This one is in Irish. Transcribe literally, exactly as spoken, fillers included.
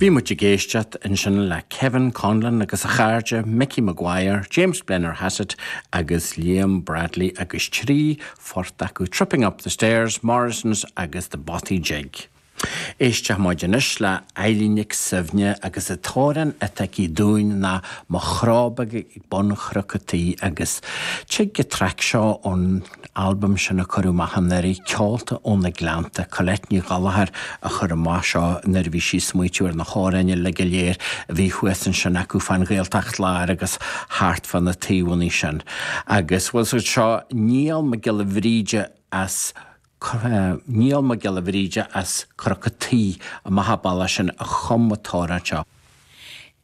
Bhí muid ag éisteacht ansin le Kevin Conlon agus a chairde Mickey Maguire, James Blennerhassett agus Liam Bradley agus trí phort acu Tripping Up the Stairs, Morrison's agus the Bothy Jig. Éisteann muid anois le Eilín Nic Suibhne agus an t-amhrán atá aici dúinn ná Mo Chró Beag ag Bun Chnoc an Tí agus tig an traic seo ón albam sin a cuireadh amach anuraidh Ceolta ó na Gleannta Colette Ní Ghallchóir a chuir amach seo nuair a bhí sí ag smaoitiú ar na hamhráin uilig go léir a bhí thuas ansin acu fán Ghaeltacht Láir agus thart fá na taobhanna sin. Agus bhfuil seo Niall Mac Giolla Bhríde as Niall Mac Giolla Bhríde as Cnoc an Tí amach bealach sin a chum an t-amhrán seo.